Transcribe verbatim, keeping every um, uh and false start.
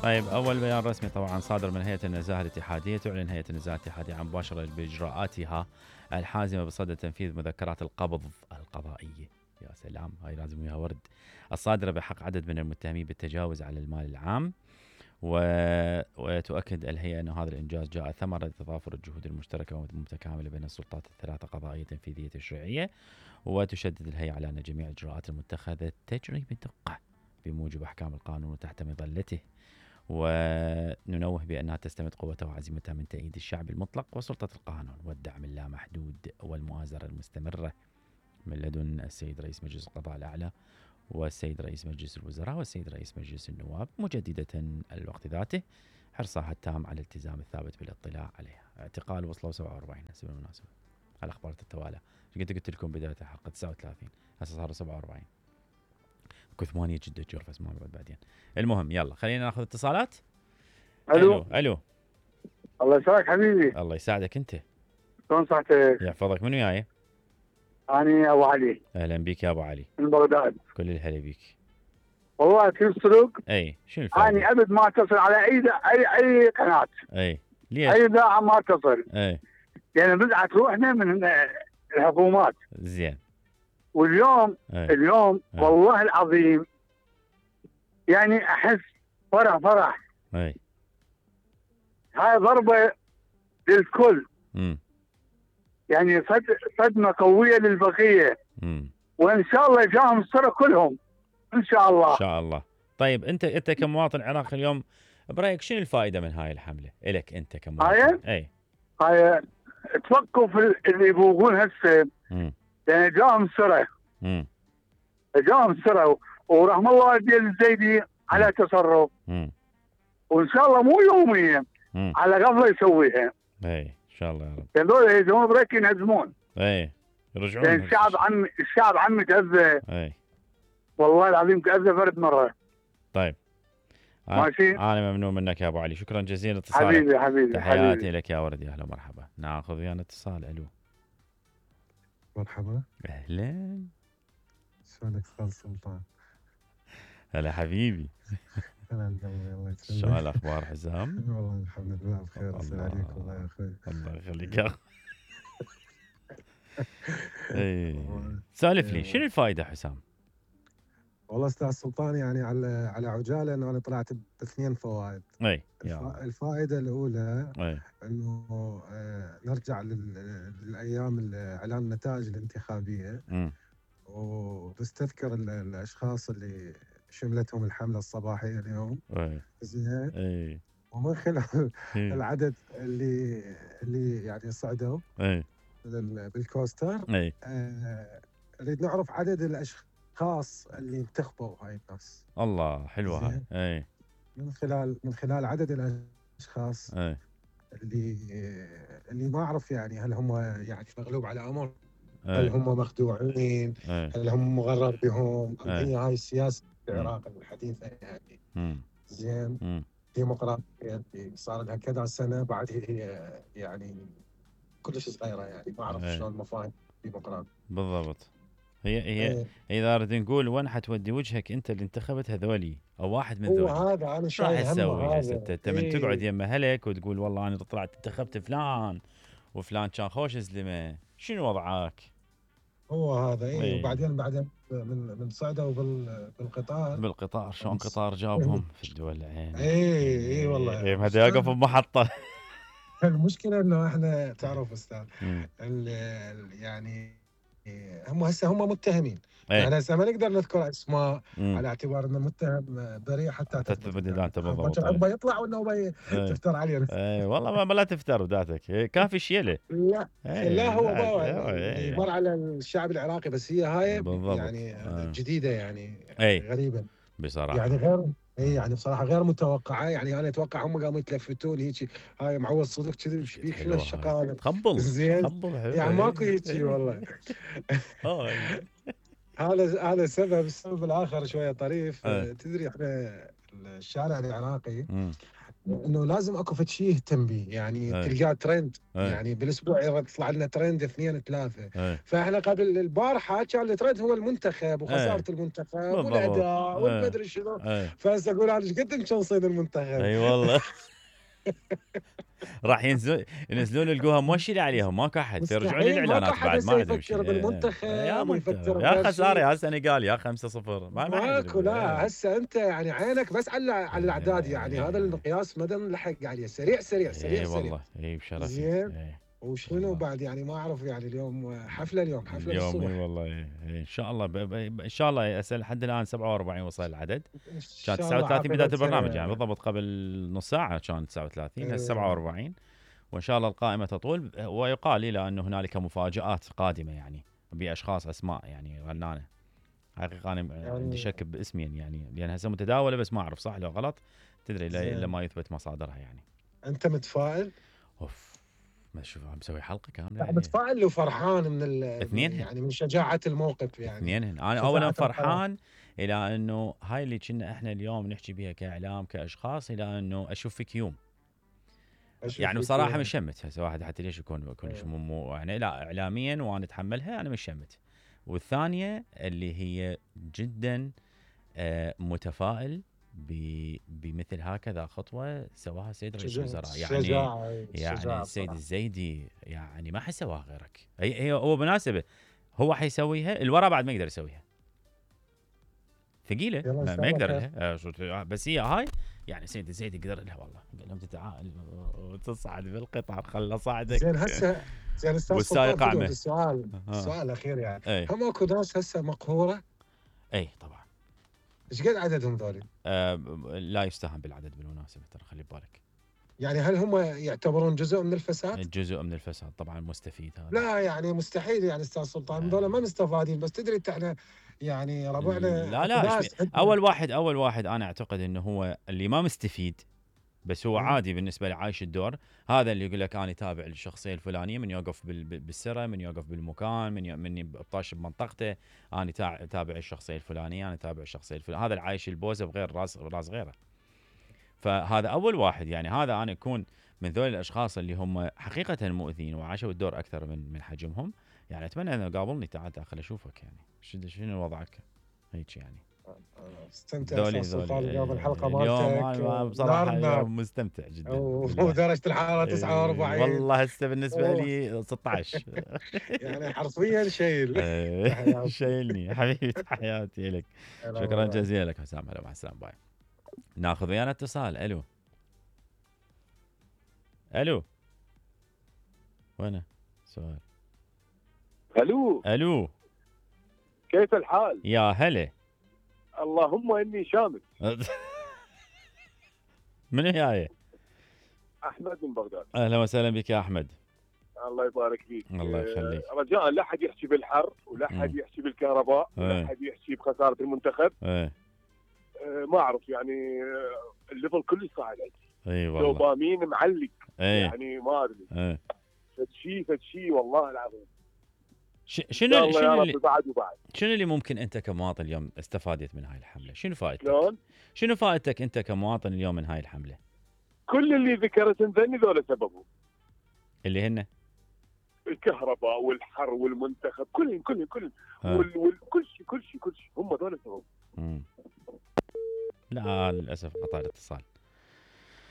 طيب أول بيان رسمي طبعا صادر من هيئة النزاهة الاتحادية. تعلن هيئة النزاهة الاتحادية عن مباشرة بإجراءاتها الحازمة بصدد تنفيذ مذكرات القبض القضائية، يا سلام هاي لازم وياها ورد، الصادرة بحق عدد من المتهمين بالتجاوز على المال العام. و... وتؤكد الهيئة أن هذا الإنجاز جاء ثمرة تضافر الجهود المشتركة والمتكاملة بين السلطات الثلاثة قضائية تنفيذية تشريعية. وتشدد الهيئة على أن جميع الإجراءات المتخذة تجري بدقة بموجب أحكام القانون وتحت مظلته. وننوه بأنها تستمد قوتها وعزيمتها من تأييد الشعب المطلق وسلطة القانون والدعم اللامحدود والمؤازرة المستمرة من لدن السيد رئيس مجلس القضاء الأعلى والسيد رئيس مجلس الوزراء والسيد رئيس مجلس النواب، مجددة الوقت ذاته حرصها التام على الالتزام الثابت بالاطلاع عليها. اعتقال وصلوا سبعة وأربعين هسه بالمناسبة، الأخبار تتوالى. قلت قلت لكم بداية الحلقة تسعة وثلاثين، هسه صاروا سبعة وأربعين، اكو ثمانية جدة جرفس ما بعد بعدين. المهم يلا خلينا ناخذ اتصالات. الو الو الو الله يسعدك حبيبي. الله يساعدك انت. شلون صحتك؟ يحفظك. منو وياي؟ اني ابو علي. اهلا بك يا ابو علي. من بغداد. كل الهلا بك. والله في السلوك اي شنو الفائده؟ اني ابد ما اتصل على اي اي اي قناه. اي ليش؟ اي اذاعه ما اتصل. اي يعني بدعت روحنا من الحكومات. زين. واليوم أي. اليوم أي. والله العظيم يعني احس فرح فرح. اي هاي ضربه للكل. امم يعني صد صدمه قويه للبقيه. امم وان شاء الله يجاهم السر كلهم ان شاء الله. ان شاء الله. طيب انت انت كمواطن عراقي اليوم برايك شنو الفائده من هاي الحمله؟ الك انت كمواطن. هاي اي هاي توقف اللي يبوقون هسه. امم يعني جاهم سره. امم جاهم سره ورحم الله والدي الزيدي على تصرف. امم وان شاء الله مو يوميا امم على قبله يسويها. اي ان شاء الله يا رب. هذول يهزمون بريك ينهزمون. اي يرجعون. يعني الشعب عم الشعب عمي تاذى. اي والله العظيم تاذى فرد مره. طيب ماشي. انا ممنون منك يا ابو علي، شكرا جزيلا اتصالك. حبيبي حبيبي تحياتي حبيبي. لك يا ولد، يا اهلا ومرحبا. ناخذ ويانا اتصال. الو مرحبا. اهلا. شلونك استاذ سلطان؟ هلا حبيبي. هلا الله يسلمك. شو الاخبار حسام؟ والله الحمد لله بخير. السلام عليكم. الله يا اخوي. الله يخليك يا اخوي. اي سالف لي شنو الفائده حسام؟ والله استاذ سلطان يعني على على عجاله انه انا طلعت باثنين فوائد. اي الف... الفائده الاولى اي انه آه نرجع لل... للايام اعلان النتائج الانتخابيه. امم وتستذكر ال... الاشخاص اللي شملتهم الحمله الصباحيه اليوم. اي زين. اي ومن خلال إيه. العدد اللي اللي يعني صعدوا اي بالكوستر. اي آه، نريد نعرف عدد الاشخاص اللي انتخبوا هاي الناس. الله حلوه هاي. زين. اي من خلال من خلال عدد الاشخاص اي اللي اللي ما اعرف يعني هل هم يعني مغلوب على امر، هل اي هم مخدوعين، اي هل هم مغرر بهم، أم أي. هي هاي السياسه مم. العراق الحديثه يعني. امم زين. امم ديمقراطيه اللي صار لها كذا سنه، بعد هي يعني كلش صغيره يعني ما اعرف أي. شلون مفاهيم ديمقراطيه. بالضبط. هي هي إيه. اذا نريد نقول وين حتودي وجهك انت اللي انتخبت هذولي او واحد من هو ذولي، هذا انا شو راح شايل همه تسوي هذا. هسه؟ انت من إيه. تقعد يم اهلك وتقول والله انا طلعت انتخبت فلان وفلان كان خوش زلمه، شنو وضعك؟ هو هذا. اي إيه. وبعدين بعدين من من صعدوا بال بالقطار. بالقطار شلون بس- قطار جابهم في الدول العين. اي اي والله. اي ما يقف بمحطه. المشكله انه احنا تعرف استاذ مم. ال- ال- يعني إيه، هم هسه هم متهمين. إيه. يعني هسه ما نقدر نذكر اسماء مم. على اعتبار انه متهم بريء حتى حتى تثبت إدانته بالضبط. بكر عقبه يطلع وانه إيه. تفتر عليه. اي والله ما ما لا تفتر ذاتك. إيه، كافي شيله. لا إيه، لا هو لا، ما إيه. اللي مر على الشعب العراقي، بس هي هاي بالضبط. يعني آه. جديده يعني إيه. غريبه بصراحه يعني غير. اي يعني بصراحه غير متوقعه. يعني انا اتوقع هم قاموا يتلفتون هيك هاي معوض صدق كذي ايش بيك شنو حلوة هاي. الشغاله. تخبل زين. تخبل حلوة. يعني ماكو إيه. هيك والله. هاي. هذا هذا السبب. السبب الاخر شويه طريف. إيه. تدري احنا الشارع العراقي مم. انه لازم اكو فد شيء يهتم به، يعني أي. تلقاه ترند، أي. يعني بالاسبوع يطلع لنا ترند اثنين ثلاثه. أي. فاحنا قبل البارحه كان الترند هو المنتخب وخساره المنتخب بالضبط. والاداء أي. والمدري شنو. أي. فهسه اقول انا ايش قد مشنصين المنتخب. اي والله. راح ينزلون ينزلون يلقوها موشرة عليهم، ماكو احد، يرجعون مستحيل، ماكو الاعلانات احد بعد هسه ما عندهم يفكر شيء. بالمنتخب يا ويفكر منتخب يا بهالشيء. خساره يا سنغال يا خمسة صفر ما ما ماكو. حد. لا هسه انت يعني عينك بس على على الاعداد، يعني إيه. هذا المقياس ما نلحق عليه. سريع سريع سريع اي سريع. والله اي بشرف. زين. وشنو والله. بعد يعني ما اعرف، يعني اليوم حفله، اليوم حفله اليوم اي الصبح. والله. إيه. إيه. ان شاء الله ب... ب... ان شاء الله اسال لحد الان سبعة وأربعين وصل العدد. ان كان شاء تسعة الله وثلاثين بدايه عاقبتها. البرنامج، يعني بالضبط قبل نص ساعه كان تسعة وثلاثين، هسه سبعة وأربعين. وان شاء الله القائمه تطول. ويقال لي لانه هنالك مفاجات قادمه، يعني باشخاص اسماء يعني غنانه. حقيقه انا يعني عندي شك باسمين، يعني لان هسه متداوله بس ما اعرف صح لو غلط، تدري الا زين. إلا ما يثبت مصادرها يعني. انت متفائل؟ اوف ما شوف عم مسوي حلقه كامله لا يعني. متفائل وفرحان من ال... اثنينهن. يعني من شجاعه الموقف يعني. اثنينهن. انا شجاعة اولا القرار. فرحان الى انه هاي اللي كنا احنا اليوم نحكي بها كاعلام كاشخاص، الى انه اشوف فيك يوم. أشوف يعني فيك بصراحه يوم. مش شمت هسه واحد حتى ليش يكون يكون إيه. مو مو يعني لا اعلاميا وانا اتحملها انا مش شمت. والثانيه اللي هي جدا آه، متفائل ب- بمثل هكذا خطوه سواها السيد رئيس شجاعة الوزراء، يعني شجاعة يعني شجاعة السيد بصراحة. الزيدي يعني ما حيسواها غيرك. هي هي هو بالمناسبه هو حيسويها، الورا بعد ما يقدر يسويها، ثقيله يلا إن ما, شاء ما الله يقدر خير. لها. آه، شو- بس هي هاي يعني سيد الزيدي قدر لها والله، قال لهم تعال وتصعد بالقطار خله صعدك. زين هسه زين استاذ والسائق سلطان أعمى. بدون السؤال ها. السؤال الاخير يعني اي هم اكو ناس هسه مقهوره، اي طبعا. ايش قد عددهم ذولي؟ آه لا يستهان بالعدد بالمناسبه، ترى خلي بالك. يعني هل هم يعتبرون جزء من الفساد؟ جزء من الفساد طبعا مستفيد هذا. لا يعني مستحيل يعني استاذ سلطان، ذولا ما مستفادين، بس تدري انت احنا يعني ربعنا لا أكو لا ناس إيش- عندنا- اول واحد اول واحد انا اعتقد انه هو اللي ما مستفيد، بس هو مم. عادي بالنسبه له عايش الدور. هذا اللي يقول لك انا تابع للشخصيه الفلانيه، من يوقف بال- بال- بالسره، من يوقف بالمكان، من ي- من بطاش بمنطقته، انا تاع- تابع الشخصيه الفلانيه، انا تابع الشخصيه الفلانيه. هذا العايش البوزه بغير راس راس غيره. فهذا اول واحد، يعني هذا انا اكون من ذول الاشخاص اللي هم حقيقه مؤذين وعاشوا الدور اكثر من من حجمهم. يعني اتمنى انه قابلني تعال داخل اشوفك، يعني شنو شنو وضعك هيك يعني. استمتع ذولي استاذ ذولي سلطان اليوم الحلقه اليوم مالتك أنا بصراحه نار نار، يوم مستمتع جدا بالله. ودرجه الحراره تسعة وأربعين. إيه، والله هسه بالنسبه أوه. لي ستة عشر. يعني حرفيا شيل. إيه، تحياتي. شايلني حبيبي، تحياتي لك. شكرا جزيلا لك حسام. هلا مع السلامه باي. ناخذ ويانا اتصال. الو الو وين سؤال؟ الو الو كيف الحال؟ يا هلا. اللهم اني شامل. من هي؟ احمد من بغداد. اهلا وسهلا بك يا احمد. الله يبارك فيك. الله يخليك. آه، رجاء لا حد يحكي بالحر ولا حد مم. يحكي بالكهرباء إيه. ولا حد يحكي بخساره المنتخب. ايه آه، ما اعرف يعني آه، الليفل كله صاعد عندي. اي والله. دوبامين معلق. ايه يعني ما ادري ايه فد شيء فد شيء والله العظيم. ش- ان شاء شنو الله يا شنو رب اللي بعد وبعد. شنو اللي ممكن انت كمواطن اليوم استفادت من هاي الحمله؟ شنو فائدتك؟ شلون؟ شنو فائدتك انت كمواطن اليوم من هاي الحمله؟ كل اللي ذكرت ذني ذولا سببهم. اللي هن الكهرباء والحر والمنتخب كلهم كلهم كلهم آه. وال- وال- كل شيء كل شيء كل شيء هم ذولا سببهم. مم. لا للاسف قطع الاتصال.